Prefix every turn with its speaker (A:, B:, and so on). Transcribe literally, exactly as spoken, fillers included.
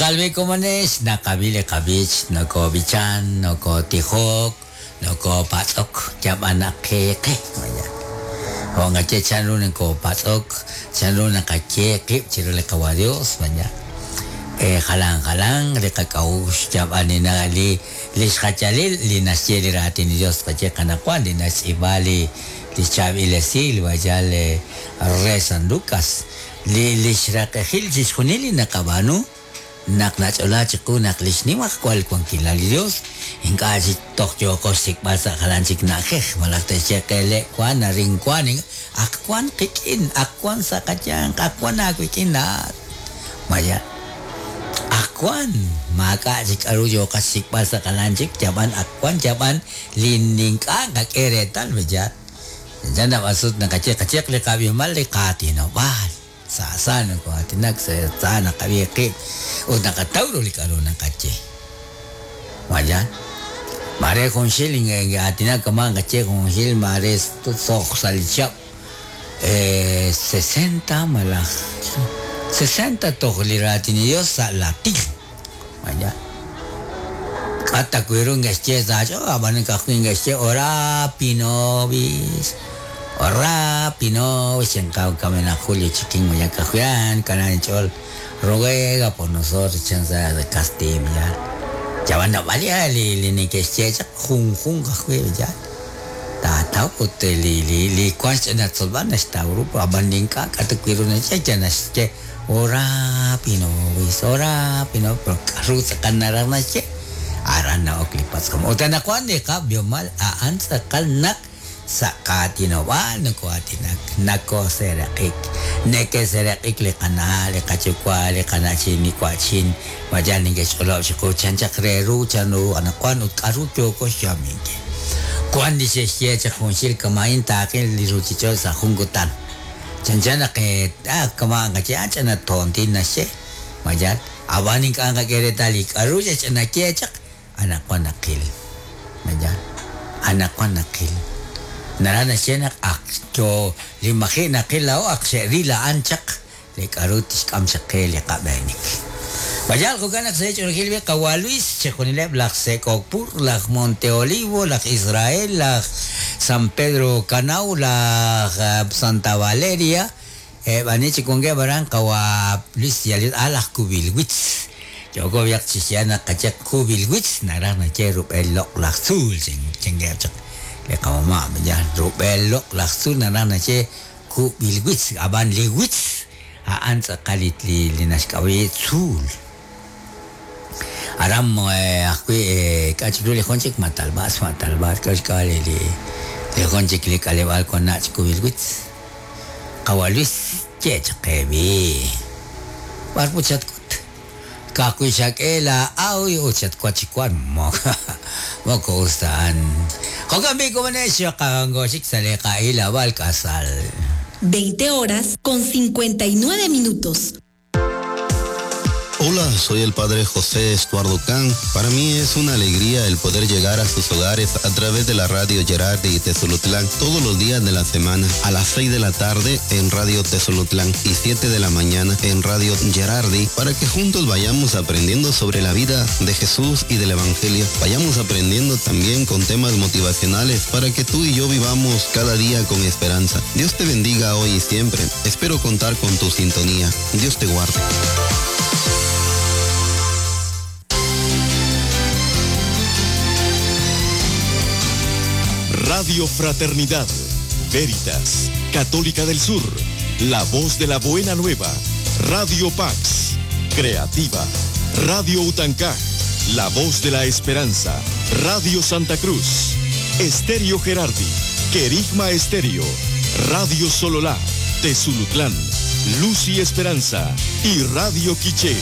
A: Tz'aqal komonex naqab'i li qab'ich nokob'ichan nokotijok nokopatz'ok yab'anaqeqe maya Ongache chanru nkopatz'ok chanru naqaye qib' chiru li qawa Dios maya eh jalan jalan li qak'awux yab'anina li li xjachalil li naxye li raatin Dios qaye qanaqwan li naxtz'iib'a li li xchaab'il vaya le re San Lucas li li xraqejil chixjunil li naqab'aanu naq nach'ola chiqu naq li xnimaq wal wankilal li Dios ink'a' chik toj yooqo xsik'b'al sa' jalan chik na'ajej malaj texyeqele wan arin wan aq wan qik'in aq wan sa' qayanq aq wan aawik'in laat maya aq wan maak'a' chik k'aru yooqa xsik'b'al sa' jalan chik yab'an aq wan yab'an li ink'a' qak'e reetal b'eya chan nab'asut naqaye qacheq li qab'imal li qaatinob'aal sa sa nako atinak sa sa naqab'i qib' ut naqataw ru li k'aru naqaye maya mare junxil atinak kaman qache junxil mare soj sa' li chab' eh sesenta malaj sesenta toj li raatin Dios sa' latin maya k'ata kwiru nge'xye sa' ab'an kajwi' nge'xye ora pinobis ora pinobis chenkaw kamena Julio chiquín maya kajuan kanan chol ruega por nosotros chanza de castim ya ya van a valia li li ni que xye jun jun kajwi ya ta ta ut li li li kwan na tzolban esta grupo ab'an ninka k'ata kwiru na che ya naxye ora pinobis ora pino pero k'aru tz'aqal naraj naxye aran na'ok li patz'om ut anaqwan li qab'yomal a'an tz'aqal naq sa' qaatinob'aal nakoatinak nakoseraqik nekeseraqik li qana' li qayuwa' li qana'chin li wa'chin mayal ninke'xch'olob' chiqu chan chaq re ru chan ru anaqwan ut k'aru yooko xyaminkil wan li xexye chaq junxil kama'in taaqil li ruchich'och' sa' jun kutan chan chan naq ah kama' qaye ah ch'ana tontin naxye mayal ab'an ink'a' qak'e reetal li k'aru xech'anaye chaq anaqwan naqil mayal anaqwan naqil naraj naxye naq aq yo li maji' naqil la'o aq xe'ril a'an chaq li k'aru tixk'am chaq qe li qab'eenik Mayal jo'kan naq se'ch'oolejil bi qawa Luis chejunileb' laj Sek'okpur laj Monte Olivo laj Israel laj San Pedro Canau laj Santa Valeria b'ani chik wankeb' aran qawa Luis yalil a laj Kubilwitz yoko biaq chixya naq qache Kubilwitz naraj naxye rub'el loq' laj tzuul chengeb' chaq li qamama' ya rub'el loq' laj tzuul naraj naxye Kubilwitz ab'an li witz a'an tz'aqal li li naxk'ab'i tzuul aram ajwi' k'a' chik ru li jun chik Matalb'as Matalb'as k'o xk'ab'a' li li jun chik li k'aleb'aal wan nach' Kubilwitz qawa Luis ye chaq qe b'i b'ar put xatk'ut kajwi' xak'e la aw ut xatwa chikwan moko us ta a'an jo'kan b'i komonex xaqangoxik sa' li qa'ilab'al k'asal
B: veinte horas con cincuenta y nueve minutos.
C: Hola, soy el padre José Estuardo Can. Para mí es una alegría el poder llegar a sus hogares a través de la radio Gerardi y Tezulutlán todos los días de la semana a las seis de la tarde en Radio Tezulutlán y siete de la mañana en Radio Gerardi para que juntos vayamos aprendiendo sobre la vida de Jesús y del Evangelio. Vayamos aprendiendo también con temas motivacionales para que tú y yo vivamos cada día con esperanza. Dios te bendiga hoy y siempre. Espero contar con tu sintonía. Dios te guarde.
D: Radio Fraternidad, Veritas, Católica del Sur, La Voz de la Buena Nueva, Radio Pax, Creativa, Radio Utancá, La Voz de la Esperanza, Radio Santa Cruz, Estéreo Gerardi, Querigma Estéreo, Radio Sololá, Tezulutlán, Luz y Esperanza y Radio Quiché.